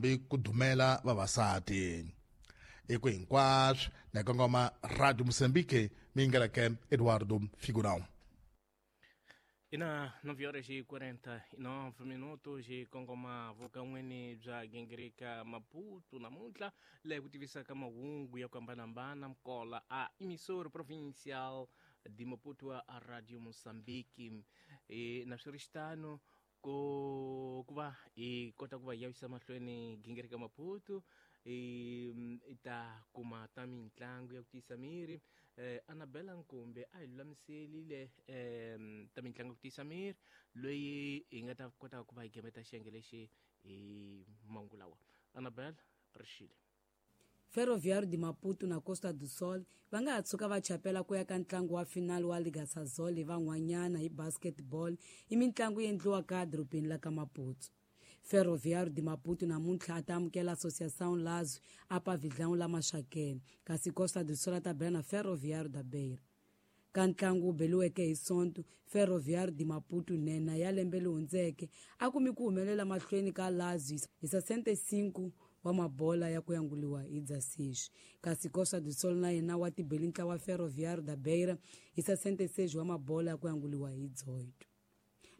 Ku dumela vavasati i ku hinkwaswo na kongoma Radio Mozambique mi yingeleke Eduardo Figurão. Ina 9 horas e 49 minutos hi kongoma vukan'wini bya gingirika Maputo namuntlha leyi ku tivisaka mahungu ya ku hambanahambana mkola a emissora provincial de Maputo a Radio Mozambique. E, na swi ri xitano ku va hi kota ku va hi yavisa mahlweni gingirika Maputo i ta kuma ta mitlangu ya ku tiyisa miri. Anabela Nkumbe a hi lulamiselile ta mitlangu ya ku tiyisa miri loyi hi nga ta kota ku va hi gemeta xiyenge lexi hi mangu lawa. Anabela Rixile. Ferroviário de Maputo na Costa do Sol va nga ha tshuka va chapela ku ya ka ntlangu wa final wa Liga Sasol hi van'wanyana hi basketball i mitlangu yi endliwaka edorobeni la ka Maputo. Ferroviário de Maputo namuntlha a ta amukela Associação Lazio a pavilhão la Maxakene, kasi Costa do Sol a ta bela na Ferroviário da Beira. Ka ntlangu wu beliweke hi Sonto, Ferroviário de Maputo nhenha ya lembe leri hundzeke a kumi ku humelela mahlweni ka Lazio hi 65 wa mabola ya ku yanguliwa hi Dzasixi, kasi Costa do Sol na yena wa tibeli ntlawa Ferroviário da Beira hi 66 wa mabola ya ku yanguliwa hi Dzoito.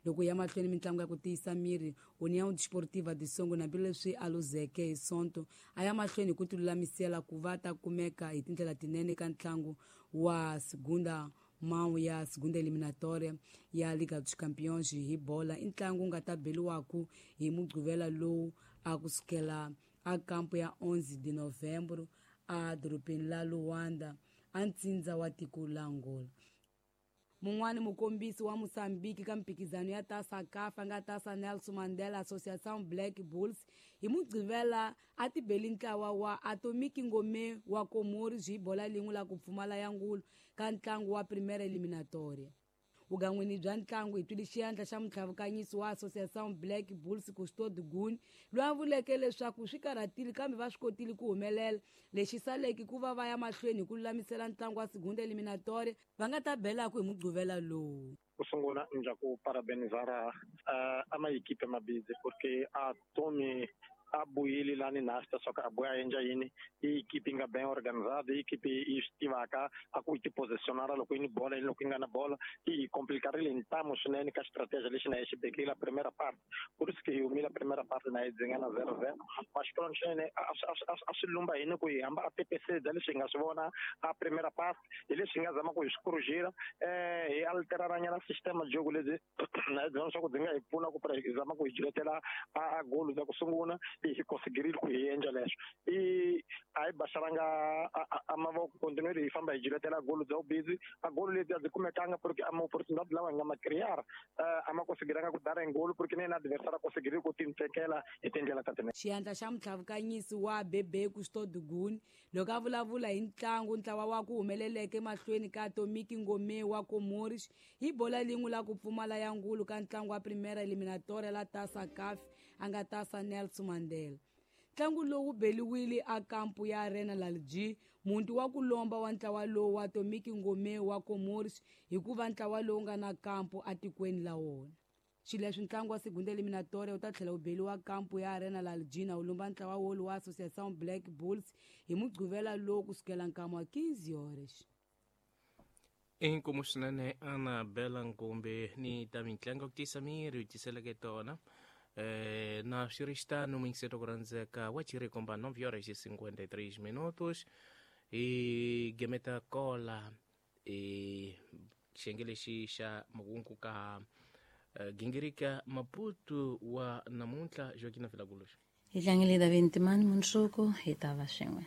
Loko ya mahlweni mitlangu ya ku tiyisa miri, União Desportiva de Songo hambileswi a luzeke hi Sonto a ya mahlweni hi ku tilulamisela ku va ta kumeka hi tindlela tinene ka ntlangu wa Segunda Mão ya Segunda Eliminatória ya Liga dos Campeões hi bola. I ntlangu wu nga ta beliwaku hi Mugqivela lowu a kusukela a kampo ya 11 de Novembro a dorobeni la Luanda a ntsindza wa tiko la Angola. Mun'wani mukombisi wa Mozambique ka mphikizano ya Taça CAF a nga Taça Nelson Mandela Associação Black Bulls hi Mugqivela a tibeli ntlawa wa Atomic Ngome wa Comores hi bola lin'we la ku pfumala ya ngulu ka ntlangu wa Primeira Eliminatória. Vugan'wini bya ntlangu hi twile xiandla xa mutlhavukanyisi wa Associação Black Bulls Custódio Guni loyi a vuleke leswaku swi karhatile kambe va swi kotile ku humelela. Lexi saleke ku va va ya mahlweni hi ku lulamisela ntlangu wa Segunda Eliminatória va nga ta belaku hi Mugqivela lowu. Ku sungula ndza ku parabenizar a ma equipe mabidzi porque a Tomi a buyile lani nasta swa ku a buya a endla yini. I equipe yi nga ben organizada, i equipe yi swi tivaka a ku yi ti positionara loko yi ni bola, loko yi nga na bola i hi complicarile hi ntamu swinene ka strategy lexi na hi xi bekile primera part. Por isso que hi humile primera parte na hi dzinga na 0-0. Mas swinene a swi lumba hini ku hi hamba a pepesedza leswi hi nga swi vona a primera part, hi leswi hi nga zama ku hi swi corrigir, hi alteraranyana sistema jogo lebyi na hi byona swa ku byi nga hi pfuna ku hi zama ku hi jiletela a goal za ku sungula. Hi conseguirile ku hi endla leswo, i a hi baxaranga a mavoko, continuer hi famba hi jiletela goal bya busy. A goal leti a byi kumekanga porque a ma opportunidade lawa hi nga ma crear a ma conseguiranga ku dara goal porque na yena adversário a conseguirile ku tintekela hi tindlela ta tinene. Xiandla xa mutlhavukanyisi wa Bebe Custódio Guni loko a vulavula hi ntlangu ntlawa wa ku humeleleke mahlweni ka Atomic Ngome wa Comores hi bola lin'we la ku pfumala ya ngulu ka ntlangu wa Primeira Eliminatória la Taça CAF a nga Taça Nelson Mandela. Ntlangu lowu wu beliwile a kampu ya Arena Lalji, muti wa ku lomba wa ntlawa lowu wa Atomic Ngome wa Comores hikuva ntlawa lowu nga na kampu atikweni la wona. Xileswi ntlangu wa Segunda Eliminatória wu ta tlhela wu beliwa kampu ya Arena Laljina wu lumba ntlawa wolu wa Associação Black Bulls hi Mugqivela lowu kusukela nkama wa 15 horas. Inkomu swinene Anabela Nkumbe ni ta mitlangu ku tiyisa miri u tiseleke tona. Na swi ri xitano muyingiseto ku rhandzeka wa chirikomba 9 horas e 53 minutos hi gemeta kola i xiyenge lexi xa mahungu ka gingirika Maputo wa namuntlha Joaquina Vilagulos. Hi tlangele David Ntimani mundzuku hi ta va swin'we.